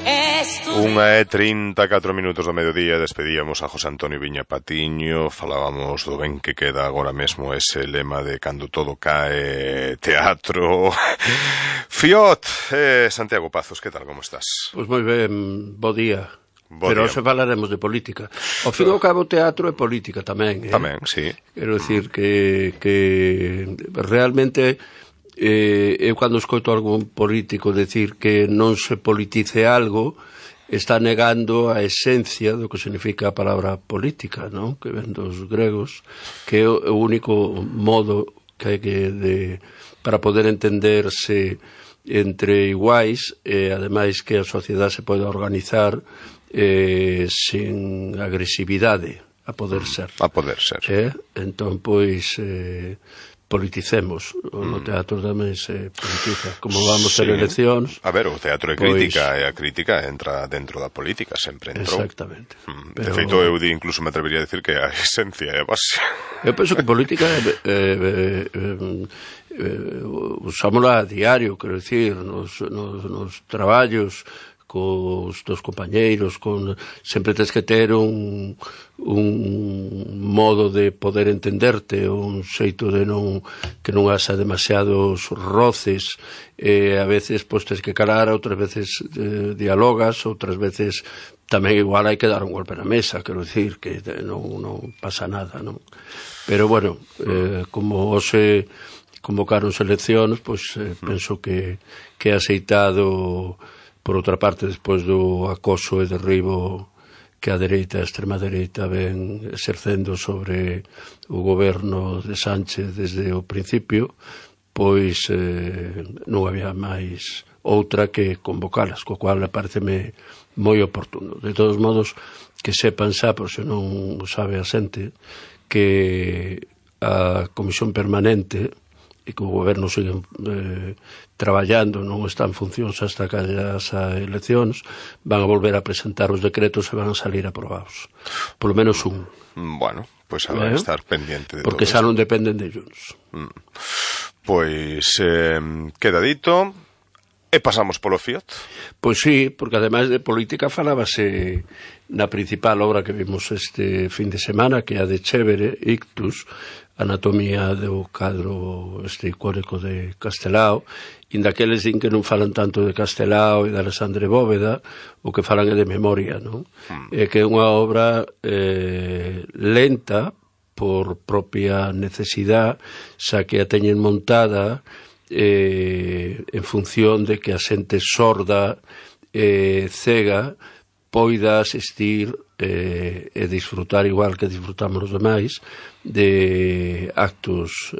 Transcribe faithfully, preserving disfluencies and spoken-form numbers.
Unha e trinta e catro minutos do mediodía. Despedíamos a José Antonio Viña Patiño. Falábamos do ben que queda agora mesmo ese lema de cando todo cae, teatro. Fiot, eh, Santiago Pazos, que tal, como estás? Pois moi ben, bo día. Bo Pero día. se falaremos de política. Ao fin e ao cabo, teatro é política tamén, eh? Tamén, sí. Quero dicir que, que realmente eh, eu cando escoito algún político decir que non se politice algo, está negando a esencia do que significa a palabra política, non? Que ven dos gregos, que é o único modo que hai que de, para poder entenderse entre iguais, e ademais que a sociedade se pode organizar eh, sin agresividade, a poder ser. A poder ser. Eh? Entón, pois, eh, politicemos. No teatro tamén se politiza. Como vamos Sí. ter eleccións... A ver, o teatro é pois... crítica, e a crítica entra dentro da política, sempre entrou. Exactamente. Mm. Pero... De feito, eu di, incluso me atrevería a decir que a esencia é a base. Eu penso que política é... Eh, eh, eh, eh, usámola a diario, quero dicir, nos, nos, nos traballos, cos dos compañeiros, con sempre tens que ter un, un modo de poder entenderte, un xeito de non que non haxa demasiados roces, e a veces pois tens que calar, outras veces eh, dialogas, outras veces tamén igual hai que dar un golpe na mesa, quero dicir que non, non pasa nada, non? Pero bueno, eh, como hoxe convocaron eleccións, pois eh, penso que que é aceitado. Por outra parte, despois do acoso e derribo que a dereita, a extrema dereita, ven exercendo sobre o goberno de Sánchez desde o principio, pois eh, non había máis outra que convocalas, co cual pareceme moi oportuno. De todos modos, que sepan xa, por se non o sabe a xente, que a Comisión Permanente e que o goberno sigue eh, traballando, non está en funcións hasta que haya as eleccións, van a volver a presentar os decretos e van a salir aprobados. Por lo menos un. Bueno, pois pues habrá que eh? estar pendiente de porque todo xa non dependen de Junts. Mm. Pois eh, queda dito. E pasamos polo Fiat? Pois sí, porque ademais de política falábase na principal obra que vimos este fin de semana, que é a de Chévere, Ictus, Anatomía do cadro este icónico de Castelao, e daqueles din que non falan tanto de Castelao e de Alexandre Bóveda, o que falan é de memoria, non? Mm. É que é unha obra eh, lenta por propia necesidade, xa que a teñen montada eh, en función de que a xente sorda e eh, cega poida asistir eh, e disfrutar igual que disfrutamos os demais de actos